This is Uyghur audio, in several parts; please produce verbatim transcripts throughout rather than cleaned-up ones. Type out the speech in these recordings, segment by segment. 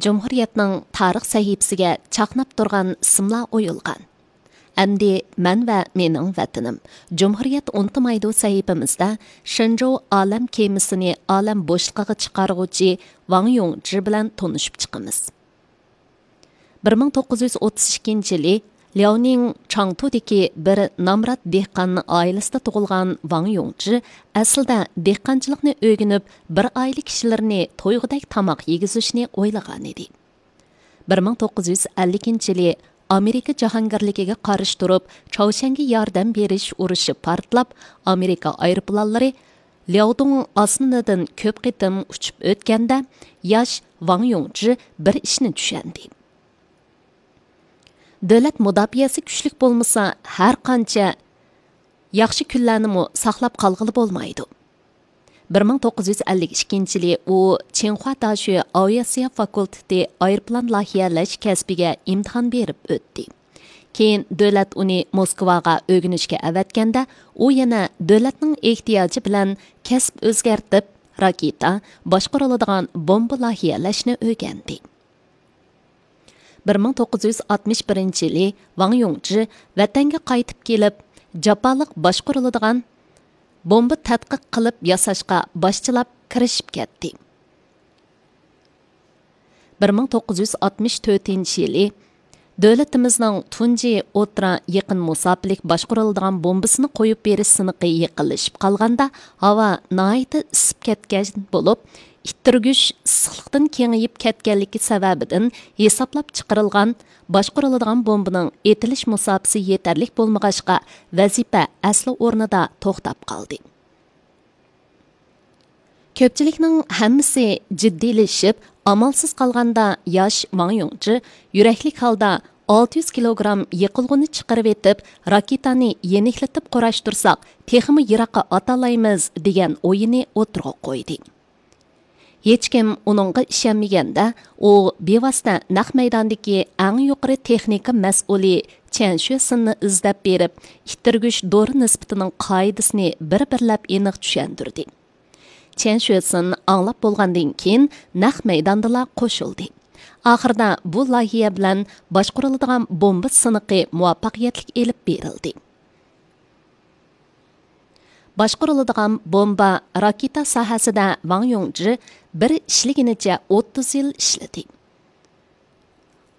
جۇمھۇرىيەتنىڭ تارىخ سەھىپىسىگە چاقناپ تۇرغان ئىسىملار ئويۇلغان. ئەمدى مەن ۋە مېنىڭ ۋەتىنىم، جۇمھۇرىيەت ئۇنتۇمايدۇ سەھىپىمىزدە شېنجوۋ ئالەم كېمىسىنى ئالەم بوشلۇقىغا چىقارغۇچى ۋاڭ يۇڭجى بىلەن تونۇشۇپ چىقىمىز. بىر مىڭ توققۇز يۈز ئوتتۇز ئىككىنچى يىلى لياۋنىڭ چاڭتۇدىكى بىر نامرات دېھقان ئائىلىسىدە تۇغۇلغان ۋاڭ يۇڭجى ئەسلىدە دېھقانچىلىقنى ئۆگىنىپ، بىر ئائىلە كىشىلىرىنى تويغۇدەك تاماق يېگۈزۈشنى ئويلىغانىدى. بىر مىڭ توققۇز يۈز ئەللىكىنچى يىلى ئامېرىكا جاھانگىرلىكىگە قارشى تۇرۇپ، چاۋشيەنگە ياردەم بېرىش ئۇرۇشى پارتلاپ، ئامېرىكا ئايروپىلانلىرى لياۋدۇڭ ئاسمىنىدىن كۆپ قېتىم ئۇچۇپ ئۆتكەندە، ياش ۋاڭ يۇڭجى بىر ئىشنى چۈشەندى. دۆلەت مۇداپىئەسى كۈچلۈك بولمىسا، ھەر قانچە ياخشى كۈنلەرنىمۇ ساقلاپ قالغىلى بولمايدۇ. بىر مىڭ توققۇز يۈز ئەللىك ئىككىنچى يىلى ئۇ چىڭخۇا داشۆ ئاۋىئاتسىيە فاكۇلتېتى ئايروپىلان لايىھەلەش كەسپىگە ئىمتىھان بېرىپ ئۆتتى. كېيىن دۆلەت ئۇنى موسكۋاغا ئۆگىنىشكە ئەۋەتكەندە، ئۇ يەنە دۆلەتنىڭ ئېھتىياجى بىلەن كەسىپ ئۆزگەرتىپ، راكېتا، باشقۇرۇلىدىغان بومبا لايىھەلەشنى ئۆگەندى. بىر مىڭ توققۇز يۈز ئاتمىش بىرىنچى يىلى ۋاڭ يۇڭجى ۋەتەنگە قايتىپ كېلىپ، جاپالىق باشقۇرۇلىدىغان بومبا تەتقىق قىلىپ ياساشقا باشچىلاپ كىرىشىپ كەتتى. بىر مىڭ توققۇز يۈز ئاتمىش تۆتىنچى يىلى دۆلىتىمىزنىڭ تۇنجى ئوتتۇرا يېقىن مۇساپىلىك باشقۇرۇلىدىغان بومبىسىنى قويۇپ بېرىش سىنىقى يېقىنلىشىپ قالغاندا، ھاۋا ناھايىتى ئىسسىپ كەتكەن بولۇپ، ئىتتىرگۈچ ئىسسىقلىقتىن كېڭىيىپ كەتكەنلىكى سەۋەبىدىن ھېسابلاپ چىقىرىلغان باشقۇرۇلىدىغان بومبىنىڭ ئېتىلىش مۇساپىسى يېتەرلىك بولمىغاچقا، ۋەزىپە ئەسلى ئورنىدا توختاپ قالدى. كۆپچىلىكنىڭ ھەممىسى جىددىيلىشىپ، ئامالسىز قالغاندا، ياش ۋاڭ يۇڭجى يۈرەكلىك ھالدا ئالتە يۈز كىلوگرام يېقىلغۇنى چىقىرىۋېتىپ، راكېتانى يېنىكلىتىپ قۇراشتۇرساق، تېخىمۇ يىراققا ئاتالايمىز، دېگەن ئويىنى ئوتتۇرىغا قويدى. ھېچكىم ئۇنىڭغا ئىشەنمىگەندە، ئۇ بىۋاسىتە نەق مەيداندىكى ئەڭ يۇقىرى تېخنىكا مەسئۇلى چيەن شۆسىننى ئىزدەپ بېرىپ، ئىتتىرگۈچ دورا نىسبىتىنىڭ قائىدىسىنى بىر-بىرلەپ ئېنىق چۈشەندۈردى. چيەن شۆسىن ئاڭلاپ بولغاندىن كېيىن، نەق مەيداندىلا قوشۇلدى. ئاخىرىدا بۇ لايىھە بىلەن باشقۇرۇلىدىغان بومبا سىنىقى مۇۋەپپەقىيەتلىك ئېلىپ بېرىلدى. باشقۇرۇلىدىغان بومبا راكېتا ساھەسىدە ۋاڭ يۇڭجى بىر ئىشلىگىنىچە ئوتتۇز يىل ئىشلىدى.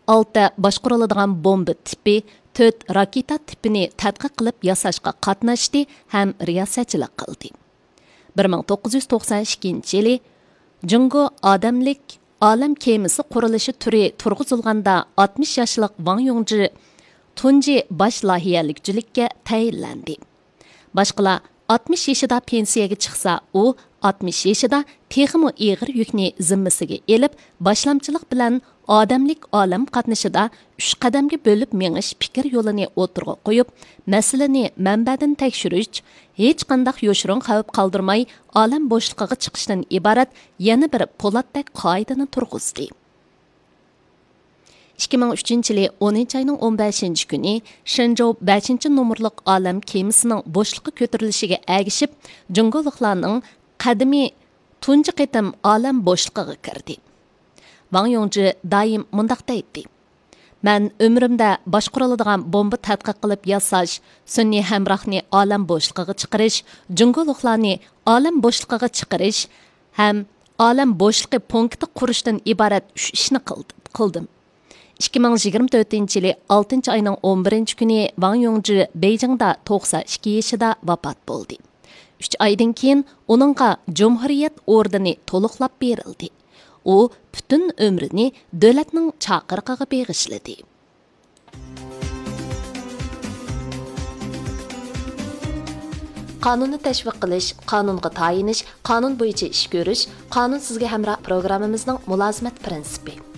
ئالتە باشقۇرۇلىدىغان بومبا تىپى، تۆت راكېتا تىپىنى تەتقىق قىلىپ ياساشقا قاتناشتى ھەم رىياسەتچىلىك قىلدى. بىر مىڭ توققۇز يۈز توقسان ئىككىنچى يىلى جۇڭگو ئادەملىك ئالەم كېمىسى قۇرۇلۇشى تۈرى تۇرغۇزۇلغاندا، ئاتمىش ياشلىق ۋاڭ يۇڭجى تۇنجى باش لايىھەلىگۈچىلىككە تەيىنلەندى. باشقىلار ئاتمىش يېشىدا پېنسىيەگە چىقسا، ئۇ ئاتمىش يېشىدا تېخىمۇ ئېغىر يۈكنى زىممىسىگە ئېلىپ، باشلامچىلىق بىلەن ئادەملىك ئالەم قاتنىشىدا ئۈچ قەدەمگە بۆلۈپ مېڭىش پىكىر يولىنى ئوتتۇرىغا قويۇپ، مەسىلىنى مەنبەدىن تەكشۈرۈش، ھېچقانداق يوشۇرۇن خەۋپ قالدۇرماي ئالەم بوشلۇقىغا چىقىشتىن ئىبارەت يەنە بىر پولاتتەك قائىدىنى تۇرغۇزدى. ئىككى مىڭ ئۈچىنچى يىلى ئونىنچى ئاينىڭ ئون بەشىنچى كۈنى شېنجوۋ بەشىنچى نومۇرلۇق ئالەم كېمىسىنىڭ بوشلۇققا كۆتۈرۈلۈشىگە ئەگىشىپ، جۇڭگولۇقلارنىڭ قەدىمى تۇنجى قېتىم ئالەم بوشلۇقىغا كىردى. ۋاڭ يۇڭجى دائىم مۇنداق دەيتتى: «مەن ئۆمرۈمدە باشقۇرۇلىدىغان بومبا تەتقىق قىلىپ ياساش، سۈنئىي ھەمراھنى ئالەم بوشلۇقىغا چىقىرىش، جۇڭگولۇقلارنى ئالەم بوشلۇقىغا چىقىرىش ھەم ئالەم بوشلۇقى پونكىتى قۇرۇشتىن ئىبارەت ئۈچ ئىشنى قىلد-، قىلدىم.» ئىككى مىڭ يىگىرمە تۆتىنچى يىلى ئالتىنچى ئاينىڭ ئون بىرىنچى كۈنى ۋاڭ يۇڭجى بېيجىڭدا توقسان ئىككى يېشىدا ۋاپات بولدى. ئۈچ ئايدىن كېيىن ئۇنىڭغا جۇمھۇرىيەت ئوردېنى تولۇقلاپ بېرىلدى. ئۇ پۈتۈن ئۆمرىنى دۆلەتنىڭ چاقىرىقىغا بېغىشلىدى. قانۇننى تەشۋىق قىلىش، قانۇنغا تايىنىش، قانۇن بويىچە ئىش كۆرۈش، قانۇن سىزگە ھەمراھ پروگراممىمىزنىڭ مۇلازىمەت پىرىنسىپى.